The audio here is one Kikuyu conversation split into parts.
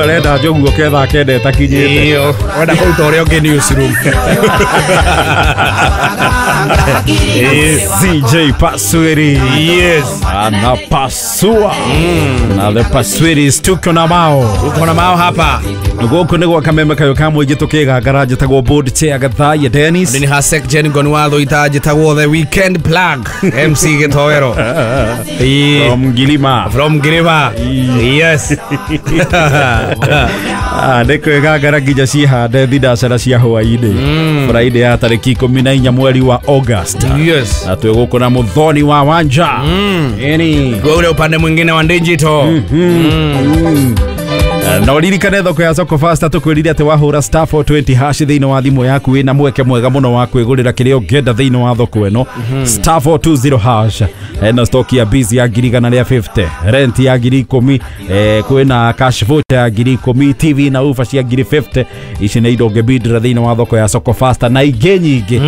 Arenda njoguo ketha kende takinyite. Iyo, wenda kũruta ũrĩa ũngĩ newsroom. CJ Paswiri. Yes. Anapasua. Na the Paswiris tuko na mao. Tuko na mao hapa. Gũkũ nĩ gwa kameme kayo ka mũingĩ tũkĩgangara njĩtagwo board chair Gathaiya Dennis. Nĩ Hasek Jen Gonwatho itanjĩtagwo the weekend plug MC Gĩtoero. From Gilima. From Gilima. Yes. Nĩ kwĩgangara nginya cihande thinacara cia hwaĩ-inĩ. Friday ya tarĩki 14 mweri wa August. Yes. Na twĩ gũkũ na Muthoni wa Wanja. Ĩni. Kwa ule upande mwingine wa digital. Na uririkane thoko ya Soko Fasta tukwirire ati wahura star 420 hash thiini wa thimu yaku wina mweke mwega muno wa kwigurira kiria ungienda thiini wa thoko ino. Star 420 hash ena stock ya busy ya 150, rent ya 10,000, kwina cash voucher ya 10,000, TV na ufa cia 50. Ici nĩ indo ũngĩbindĩra thiini wa thoko ya Soko Fasta na ingĩ nyingĩ.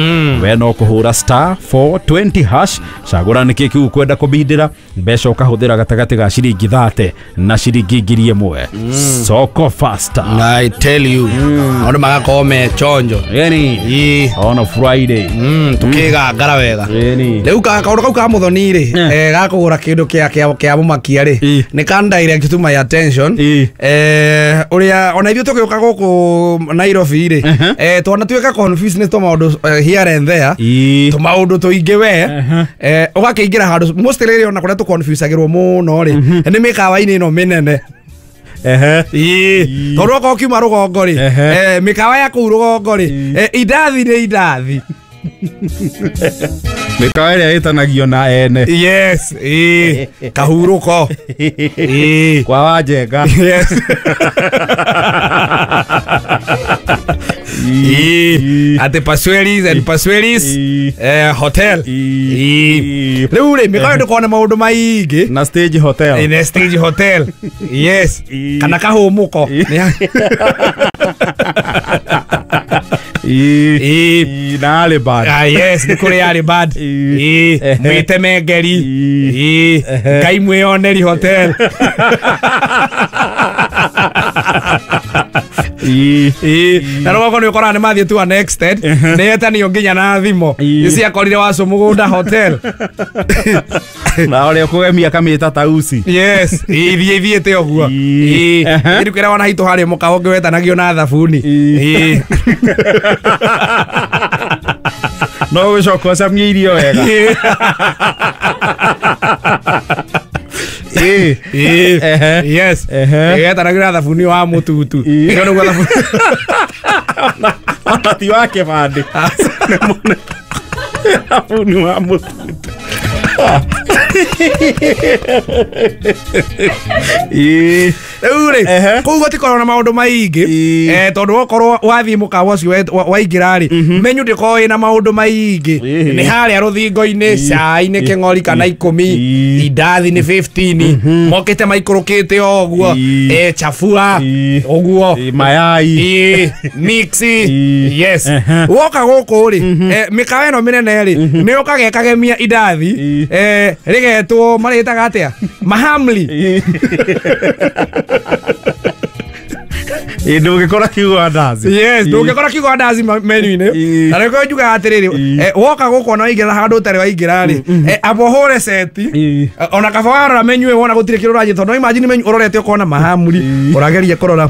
We no kũhũra star 420 hash, cagũra nĩkĩ kĩu ũkwenda kũbindĩra, mbeca ũkahũthĩra gatagatĩ ga ciringi 30 na ciringi 1,000. Soko Fasta. I tell you. Maũndũ magakorwo me chonjo. Yani. On a Friday. Tukigangara wega. Yani. Rĩu kaũndũ kau ka Muthoni rĩ, gakũgũra kĩndũ kĩa mũmakia rĩ, nĩ ka direct to my attention. Ũrĩa ona ithuĩ tũgĩũka gũkũ Nairobi rĩ, twanatuĩka confused nĩ tũmaũndũ here and there. Tũmaũndũ tũingĩ we. Ũgakĩingĩra handũ mostly rĩrĩa ona kũrĩa tũconfusagĩrwo mũno rĩ, nĩ mĩkawa-inĩ ĩno mĩnene. Tondũ okorwo kiuma rũgongo rĩ, mĩkawa ya kũu rũgongo rĩ, indathi nĩ indathi. Mĩkawa ĩrĩa ĩtanagio na ene. Yes. Kahurũko. Kwa Wanjenga. Yes. Ate Pasweris and Pasweris hotel. Rĩu rĩ, mĩkawa ndũkona maũndũ maingĩ. Na stage hotel. Na stage hotel. Yes. Kana kahũmũko. Na Alibad. Yes, nĩ kũrĩ Alibad. Mwĩtemengeri. Ngai mwĩoneri hotel. Na rũgongo nĩ ũkoraga nĩ mathiĩ to an extent, nĩ etanio nginya na thimo. Nĩciakorire Wacũ mũgũnda hotel. Na ũrĩa ũkũgemia akamĩta tausi. Yes, ithiĩ ithiĩte ũguo. Rĩu kĩrĩa wona hitũ harĩa mũkawa ũngĩ wetanagio na thabuni. No gũcoka ũcamie irio wega. Yes. Ĩgetanagio na thabuni wa mũtutu. Ĩyo nĩguo thabuni. Ona ti wa kĩbandĩ. Thabuni wa mũtutu. Rĩu rĩ, kũu gũtikoragwo na maũndũ maingĩ, tondũ wokorwo wathiĩ mũkawa ũcio waingĩra rĩ, menu ndĩkoragwo ĩna maũndũ maingĩ. Nĩ harĩa rũthingo-inĩ, cai nĩ kĩng'ori kana 10, indathi nĩ 15, mokĩte maikũrũkĩte o ũguo, chafua ũguo, mayai, mix. Yes. Woka gũkũ rĩ, mĩkawa ĩno mĩnene rĩ, nĩ ũkaga ĩkagemia indathi, rĩgetwo marĩtaga atĩa? Mahamri. Ndũngĩkora kiugo andazi. Yes, ndũngĩkora kiugo andazi menu-inĩ. Na nĩkĩo njugaga atĩrĩrĩ, woka gũkũ ona waingĩra handũ ũtarĩ waingĩra rĩ, amba ũhũre seti, ona kaba warora menu ĩyo wona gũtirĩ kĩndũ ũranyita, tondũ imagine menu ũrorete ũkona mahamri, ũrageria kũrora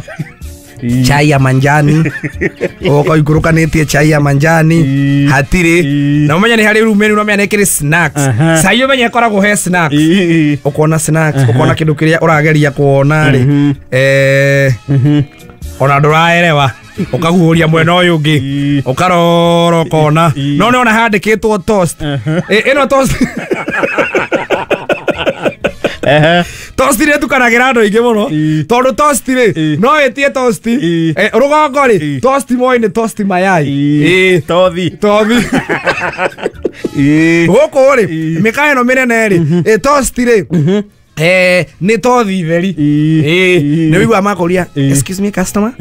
chai ya manjani, ũkaikũrũkanĩtie chai ya manjani, hatirĩ. Na ũmenye nĩ harĩ rĩu menu ũramenya nĩ ĩkĩrĩ snacks. Cai ũmenye ĩkoragwo he snacks. Ũkona snacks, ũkona kĩndũ kĩrĩa ũrageria kuona rĩ, ona ndũraerewa, ũkaguũria mwena ũyũ ũngĩ, ũkarora ũkona. No nĩ ona handĩkĩtwo toast. Ĩno toast. Toast nĩ ĩtukanagĩra andũ aingĩ mũno, tondũ toast rĩ, no ĩtie toast. Rũgongo rĩ, toast moĩ nĩ toast mayai. Tothi. Tothi. Gũkũ rĩ, mĩkawa ĩno mĩnene rĩ, toast rĩ, nĩ tothi theri. Nĩ ũiguaga makũria, excuse me customer,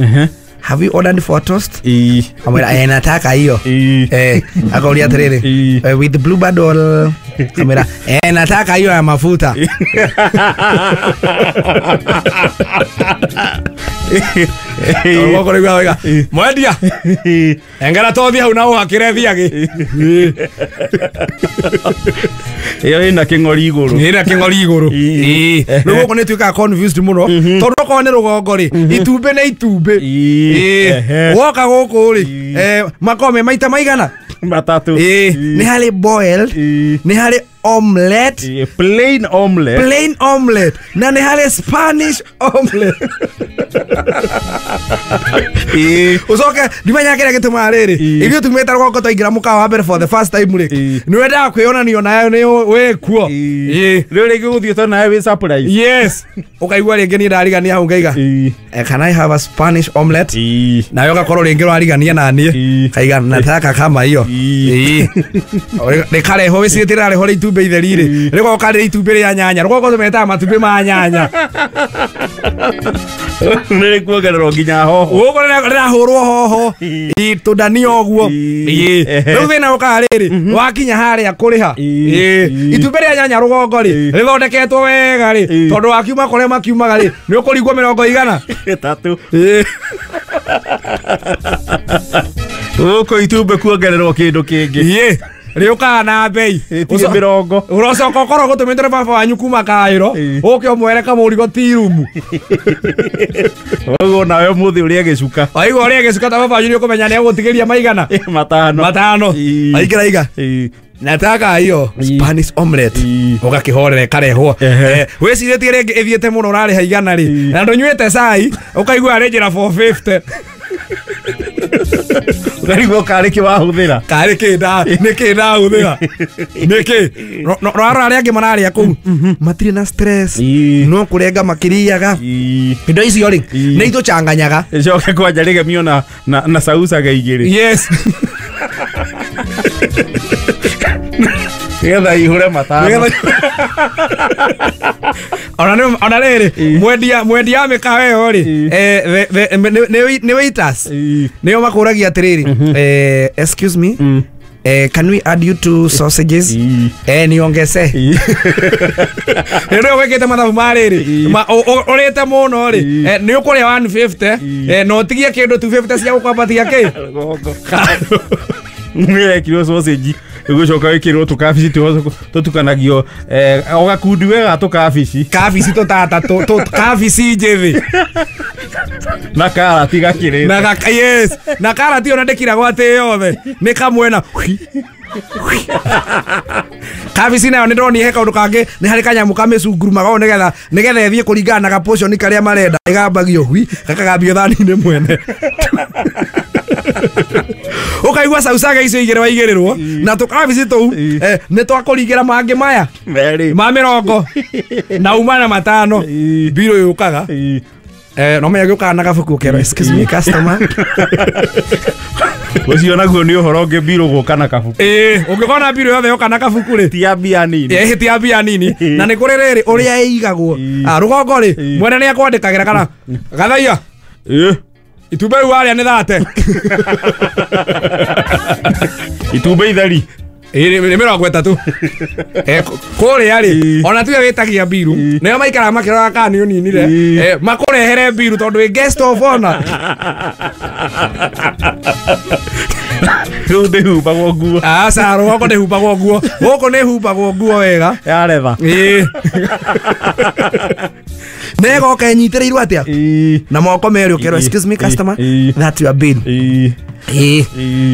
have you ordered for toast? Amwĩra, nataka hiyo. Akauria atĩrĩrĩ, with blue band or? Amwĩra, nataka hiyo ya mafuta. Rũgongo rĩugaga wega mwendia engera tothi hau na ũhakĩre thiagĩ. Ĩyo ĩna kĩng'ori igũrũ. Ĩna kĩng'ori igũrũ. Rĩu gũkũ nĩ tuĩkaga confused mũno tondũ okorwo nĩ rũgongo rĩ itumbĩ nĩ itumbĩ. Woka gũkũ rĩ makoragwo me maita maigana? Matatũ. Nĩ harĩ boiled, nĩ harĩ omelette, plain omelette, plain omelette, na nĩ harĩ Spanish omelette. Ucoke ndimenya kĩrĩa gĩtũmaga rĩrĩ ithuĩ tumĩte rũgongo twaingĩra mũkawa wa mbere for the first time rĩ nĩ wendaga kwĩyonania nayo nĩ wĩkuo. Rĩu rĩngĩ gũthiĩ tondũ nawe wĩ surprise. Yes, ũkaigua rĩngĩ niĩ ndarigania hau ngaiga can I have a Spanish omelette? Nawe ũgakorwo rĩngĩ ũrarigania na niĩ kaiga nataka kama hiyo. Rĩkarehwo wĩcirĩtie rĩrarehwo rĩ itumbĩ itheri rĩ rĩgoka rĩ itumbĩ rĩa nyanya. Rũgongo tũmetaga matumbĩ ma nyanya. Nĩ rĩkuongererwo nginya hoho. Gũkũ rĩrahũrwo hoho tũndania ũguo. Rĩu thĩna ũkaga rĩrĩ wakinya harĩa kũrĩha itumbĩ rĩa nyanya rũgongo rĩ rĩthondeketwo wega rĩ tondũ wakiuma kũrĩa makiumaga rĩ nĩ ũkũringwo mĩrongo igana ĩtatũ. Gũkũ itumbĩ kuongererwo kĩndũ kĩngĩ. Rĩũkaga na bei mĩrongo. Ũrocoka ũkorwo gũtũmĩte nĩ baba wanyu kuma Kaĩro ũke ũmwere kamũrigo ti rumu. Ũguo nawe ũmũthĩ ũrĩe gĩcuka. Waigua ũrĩe gĩcuka ta baba wanyu nĩ ũkũmenya nĩ egũtigĩria maigana? Matano. Aingĩra iga nataka hiyo Spanish omelette ũgakĩhorera ĩkarehwo. Wĩcirĩtie rĩngĩ ĩthiĩte mũno ũrarĩha igana rĩ na ndũnyuĩte cai ũkaigua arĩ njĩra 450. Ũkarigwo karĩ kĩ wahũthĩra. Karĩ kĩ nĩkĩ ndahũthĩra nĩkĩ. Rora arĩa angĩ mararĩa kũu matirĩ na stress no kũrenga makĩrĩaga indo icio rĩ nĩ itũchanganyaga. Ĩcoke kwanja rĩgemio na sausaga igĩrĩ. Yes. Nĩgetha ihũre matano. Ona rĩrĩ mwendia wa mĩkawa ĩyo rĩ nĩ waiters nĩo makũragia atĩrĩrĩ excuse me can we add you two sausages? Niongeze. Rĩu wĩkĩte mathabu ma rĩrĩ ũrĩte mũno rĩ nĩ ũkũrĩa 150 na ũtigie kĩndũ 250 cia gũkwambatia kĩ rũgongo. Nĩrekirwo sausage ĩgũcoka wĩkĩrwo tũkabici tũtukanagio o gakundi wega tũkabici kabici tũtata kabici njĩthĩ na karati gakĩrĩte na yes na karati ona ndĩkiragwo atĩ yothe nĩ kamwena. Kabici nayo nĩ ndonire he kaũndũ kangĩ nĩ harĩ kanyamũ kamĩcungurumaga ũũ nĩgetha ĩthiĩ kũringana na gaportion karĩa marenda ĩgambagio hui gakagambio thani-inĩ mwene. Ũkaigua sausaga icio igĩrĩ waigĩrĩrwo na tũkabici tũu nĩ twakũringĩra mangĩ maya ma mĩrongo na uma na matano mbirũ yũkaga no menya gĩũkaga na gabuku ũkerwo excuse me customer. Ũcio naguo nĩ ũhoro ũngĩ mbirũ gũka na kabuku. Ũngĩkona mbirũ yothe yoka na kabuku rĩ ti ya mbia nini. Ti ya mbia nini na nĩ kũrĩ rĩrĩ ũrĩa ĩigagwo rũgongo rĩ mwene nĩ akwandĩkagĩra kana gathaia itumbĩ rĩu warĩa nĩ thate. Itumbĩ itheri nĩ mĩrongo ĩtatũ. Kũrĩa rĩ ona tuge wĩtagia mbiru nĩo maikaraga makĩroraga kana nĩ ũninire makũrehere mbiru tondũ wĩ guest of honor. Rĩu ndĩhumbagwo nguo. Aca rũgongo ndĩhumbagwo nguo. Gũkũ nĩhumbagwo nguo wega ya retha. Na ĩgoka ĩnyitĩrĩirwo atĩa na moko merĩ ũkerwo excuse me customer that your bill.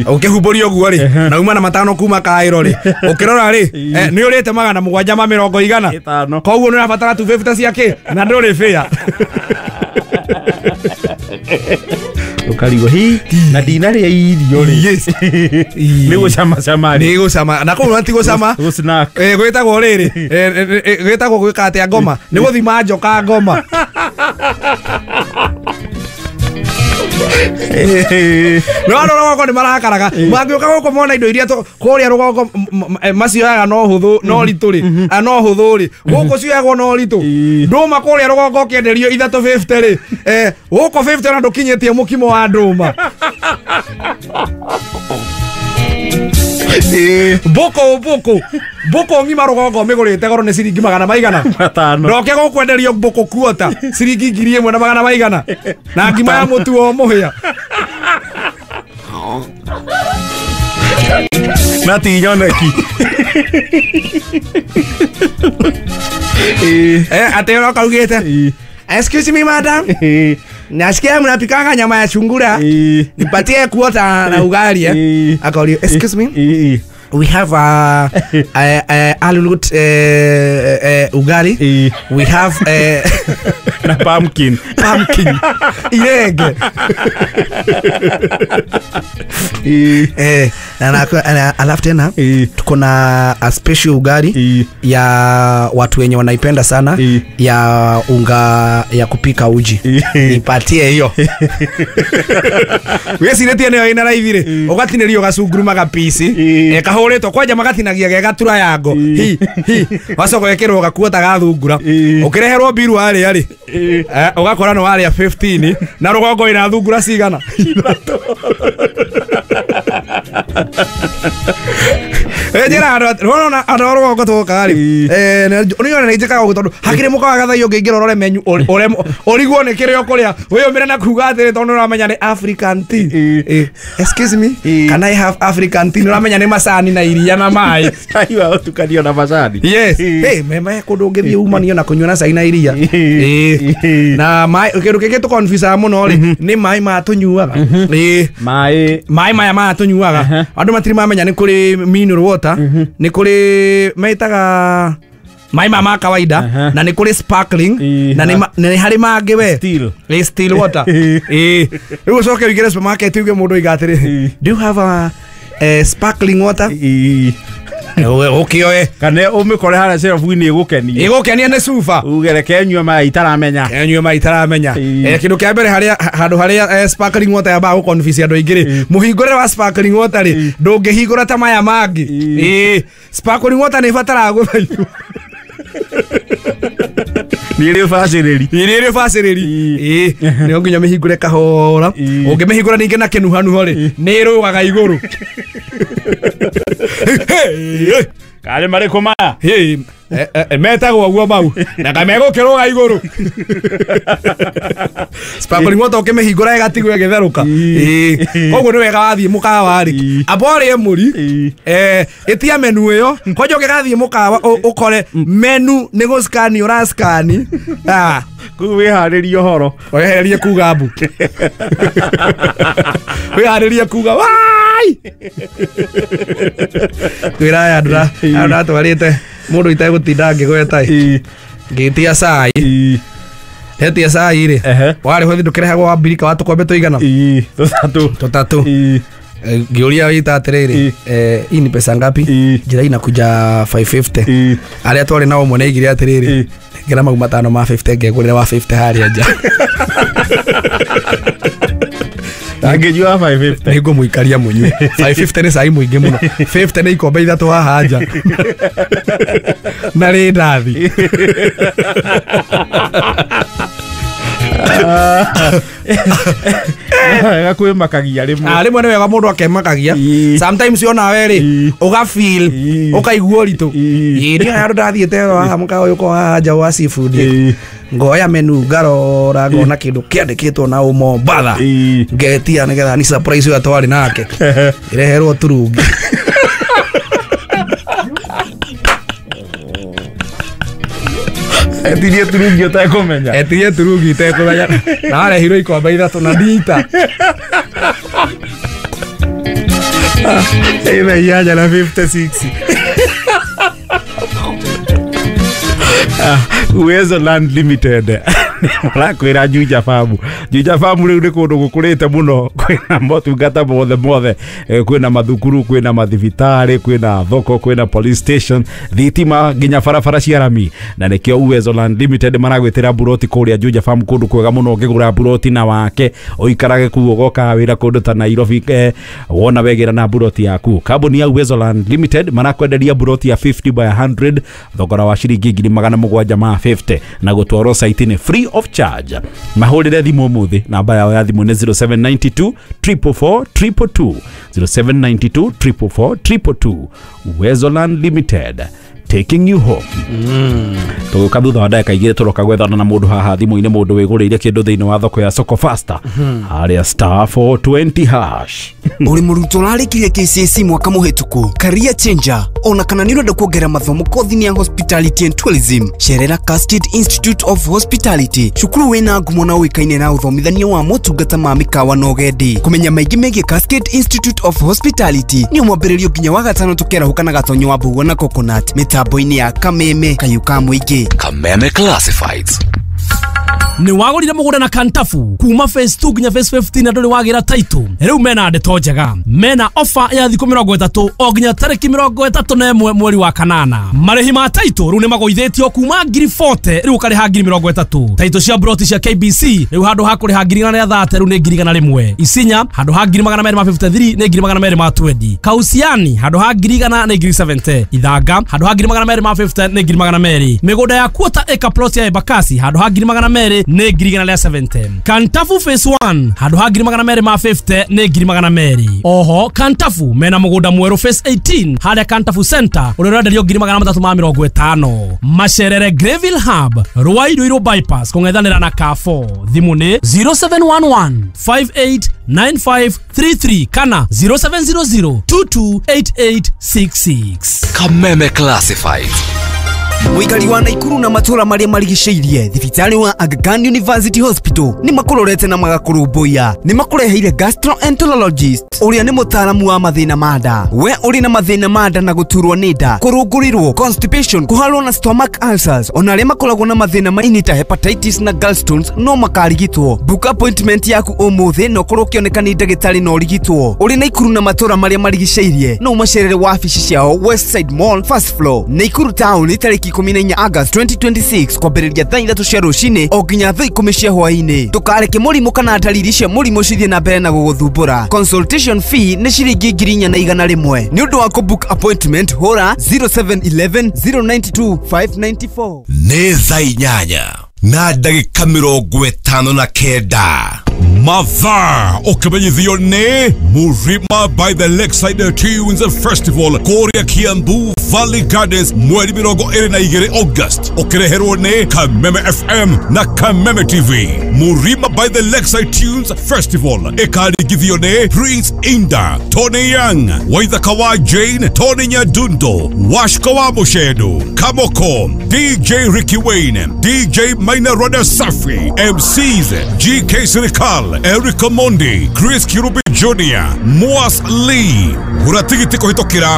Ũkĩhumbũria ũguo rĩ na uma na matano kuma Kaĩro rĩ ũkĩrora rĩ nĩ ũrĩte magana mũgwanja ma mĩrongo igana koguo nĩ ũrabatara 250 cia kĩ na ndũrĩ bĩa. Ũkarigwo hi na ndinarĩa irio rĩ nĩ gũcama cama nĩ gũcama na kũu ti gũcama gwĩtagwo rĩrĩ gwĩtagwo gwĩka atĩa ngoma nĩ gũthima njoka ngoma. No rũgongo nĩ marakaraga mangĩũka gũkũ mona indo iria kũrĩa rũgongo macioyaga no hũthũ no ritũ rĩ no hũthũ rĩ gũkũ cioyagwo no ritũ ndũma kũrĩa rũgongo ũkĩenderio 350 rĩ gũkũ 50 ona ndũkinyĩtie mũkimo wa ndũma. Mbũkũ mbũkũ ng'ima rũgongo mĩgũrĩte goro nĩ ciringi magana maigana matano. Ndoke gũkwenderio mbũkũ kuota ciringi 1,000 na magana maigana na ngima ya mũtu o mũhĩa na ti nyoneki. Atĩ ũroka ugĩte excuse me madam, nasikia mnapikanga nyama ya sungura, nipatie kuota na ugali. Akauliza excuse me, we have a alulut ugali, we have na pumpkin irenge. Na alafu tena tuko na a special ugali ya watu wenye wanaipenda sana ya unga ya kupika uji, nipatie hiyo. Weciretie nayo ina raithi rĩ ũgatinĩrio gacunguru magapisi kahũrĩtwo kwanja magatinagia ge gatura yango hi hi wacoka wekĩrwo gakuota gathungura ũkĩreherwo mbiru warĩa rĩ ũgakora nĩ warĩa 15 na rũgongo ina thungura cigana. Njĩra andũ a rũgongo tũkaga rĩ nĩ nĩ njĩkaga ũguo tondũ hakĩrĩ mũkawa gathaio ũngĩingĩra ũrore menu ũrigwo nĩ kĩrĩa ũkũrĩa wĩyũmĩre na kuga atĩrĩ tondũ nĩũramenya nĩ African tea. Excuse me, can I have African tea? Nĩũramenya nĩ macani na iria na maĩ. Cai wa ũtukanio na macani. Yes. Hey, meme kũndũ ũngĩthiĩ umanio na kũnyua na cai na iria. Na maĩ kĩndũ kĩngĩ tũconfusaga mũno rĩ nĩ maĩ maya tũnyuaga. Maĩ maya maya tũnyuaga andũ matirĩ mamenya nĩ kũrĩ mineral water, nĩ kũrĩ metaga maĩ maya ma kawaida na nĩ kũrĩ sparkling na nĩ harĩ mangĩ we still still water. Rĩu ũcoke ũingĩre supermarket uge mũndũ oiga atĩrĩ do you have a sparkling water? Ũkĩoe kana ũmĩkore harĩa shelf-inĩ ĩgũkenie ĩgũkenia nĩ cuba uge reke nyue maĩ itaramenya nyue maĩ itaramenya. Kĩndũ kĩa mbere harĩa handũ harĩa sparkling water yambaga gũconfuse andũ aingĩ rĩ mũhingũrĩre wa sparkling water rĩ ndũngĩhingũra ta maya mangĩ. Sparkling water nĩ ĩbataraga gũthaithwo nĩ ĩrĩ ũbacĩrĩri nĩ ĩrĩ ũbacĩrĩri nĩ nginya mĩhingũre kahora ũngĩmĩhingũra ningĩ na kĩnuhanuho rĩ nĩ ĩrũgaga igũrũ. Karĩ marĩkũ maya metagwo ũguo mau na kamegũkĩrũga igũrũ. Sparkling water ũkĩmĩhingũra ĩgatigwo ĩgĩtherũka. Koguo nĩ wega wathiĩ mũkawa rĩ amba ũrĩe mũri ĩtia menu ĩyo kwanja ũngĩgathiĩ mũkawa ũkore menu nĩ gũscan ũrascan kũu wĩharĩrie ũhoro wehererie kuga mbu wĩharĩrie kuga wai twĩra aya andũ ndatwarĩte mũndũ itegũtinda ngĩgweta ngĩtia cai hetia cai rĩ warĩ ho ndũkĩrehagwo wa mbirika wa tũkombe tũigana tũtatũ ngĩũria wĩta atĩrĩrĩ hii ni pesa ngapi? Njĩra inakuja 550. Arĩa twarĩ nao ũmwe nĩaigire atĩrĩrĩ ngĩra mau matano ma 50 ngegũrĩra wa 50 harĩa nja. Angĩnyua 550 nĩngũmũikaria mũnyue 550 nĩ cai mũingĩ mũno 50 nĩ ikombe ithatũ haha nja na rĩndathi. Wega kwĩmakagia rĩmwe. Rĩmwe nĩ wega mũndũ akemakagia sometimes onawe rĩ ũgafeel ũkaigua ũritũ. Niĩ handũ ndathiĩte haha mũkawa ũyũ ũkoragwo haha nja wa seafood ngoya menu ngarora ngona kĩndũ kĩandĩkĩtwo na ũmombatha ngetia nĩgetha ni surprise ũrĩa twarĩ nake ĩreherwo turungi. Etirie turungi ũtekũmenya etirie turungi itekũmenya na warehirwo ikombe ithatũ na ndita ĩna inyanya na 56. Uwezo Land Limited marakwĩra Juja Farm. Juja Farm rĩu nĩ kũndũ gũkũrĩte mũno kwĩna motungata mothe mothe kwĩna mathukuru kwĩna mathibitarĩ kwĩna thoko kwĩna police station thitima nginya barabara cia rami na nĩkĩo Uwezo Land Limited maragwĩtĩra buroti kũrĩa Juja Farm kũndũ kwega mũno ũngĩgũra buroti na wake ũikarage kuo ũgokaga wĩra kũndũ ta Nairobi wona wegĩra na buroti yaku. Kambuni ya Uwezo Land Limited marakwenderia buroti ya 50 by 100 thogora wa ciringi 750 na gũtwarwo site-inĩ free of charge. Mahũrĩre thimũ ũmũthĩ, namba yao ya thimũ nĩ 0792 444 222, 0792 444 222. Uwezo Land Limited, taking you home. Tũgũka thutha wa ndagĩka 2 tũroka gwethana na mũndũ haha thimũ-inĩ, mũndũ wĩgũrĩire kĩndũ thĩinĩ wa thoko ya Soko Fasta harĩa star 420 hash. Uri mũrutwo ũrarĩkirie KCSE mwaka mũhĩtũku, career changer, ona kana nĩ ũrenda kuongerera mathomo kothi-inĩ ya hospitality and tourism, cerera Cascade Institute of Hospitality, cukuru wĩna ngumo na ũĩkaine na ũthomithania wa motungata ma mĩkawa na ũgendi. Kũmenya maingĩ megiĩ Cascade Institute of Hospitality nĩ mwambĩrĩrio nginya wa gatano tũkĩarahũka na Gatonyo wa Mbugua na Coconut mĩtambo-inĩ ya Kameme Kayũ ka Mũingĩ. Kameme Classifieds. Nĩ wagũrire mũgũnda na Kantafu kuma phase 2 nginya phase 15 na ndũrĩ wagĩra title. Rĩu mena ndeto njega, mena offer ya thikũ 30 o nginya tarĩki 31 mweri wa kanana. Marĩhi ma title rĩu nĩ magũithĩtio kuma ngiri 40 rĩu ũkarĩha ngiri 30. Title cia broti cia KBC rĩu handũ ha kũrĩha ngiri 130 rĩu nĩ ngiri 101. Isinya handũ ha ngiri 253 nĩ ngiri 220. Kausiani handũ ha ngiri 100 nĩ ngiri 70. Ithanga handũ ha ngiri 250 nĩ ngiri 200. Mĩgũnda ya quarter acre plot ya Embakasi handũ ha ngiri 200 nĩ ngiri 170. Kantafu phase 1 handũ ha ngiri 250 nĩ ngiri 200. Oho Kantafu mena mũgũnda mwerũ phase 18 harĩa Kantafu Center ũrĩa ũrenderio ngiri 350. Macerere Greville Hub Ruai Ruiru bypass kũng'ethanĩra na Carrefour. Thimũ nĩ 0711 589533 kana 0700 228866. Kameme Classifieds. Mũikari wa Naikuru na matũra marĩa marigicĩirie, thibitarĩ wa Aga Khan University Hospital nĩ makũrorete na magakũrũmbũiya. Nĩ makũreheire gastroenterologist ũrĩa nĩ mũtaaramu wa mathĩna ma nda. We ũrĩ na mathĩna ma nda na gũturwo nĩ nda, kũrũngũrĩrwo, constipation, kũharwo na stomach ulcers, ona arĩa makoragwo na mathĩna ma ini ta hepatitis na gallstones no makarigitwo. Book appointment yaku ũmũthĩ na ũkorwo ũkĩoneka nĩ ndagĩtarĩ na ũrigitwo. Ũrĩ Naikuru na matũra marĩa marigicĩirie, no ũmacerere wabici ciao Westside Mall first floor, Naikuru town, tarĩki 14 August 2026 kwambĩrĩria thaa 3 cia rũcinĩ o nginya thaa 10 cia hwaĩ-inĩ. Ndũkareke mũrimũ kana ndariri cia mũrimũ cithiĩ na mbere na gũgũthumbũra. Consultation fee nĩ ciringi 4,100. Nĩ ũndũ wa kũbook appointment hũra 0711 092 594. Nĩ thaa 8 na ndagĩka 59. Mathaa ũkĩmenyithio nĩ Murima by the Lakeside Tunes Festival kũrĩa Kiambu Valley Gardens mweri 22 August, ũkĩreherwo nĩ Kameme FM na Kameme TV. Murima by the Lakeside Tunes Festival ĩkaringithio nĩ Prince Inda, Tony Young, Waithaka wa Jane, Tony Nyadundo, Washko wa Mushedu, Kamoko, DJ Ricky Wayne, DJ Maina Roda Safi, MCs GK Sirikal, Eric Omondi, Chris Kirubi Jr., Moas Lee. Gũra tigiti kũhĩtũkĩra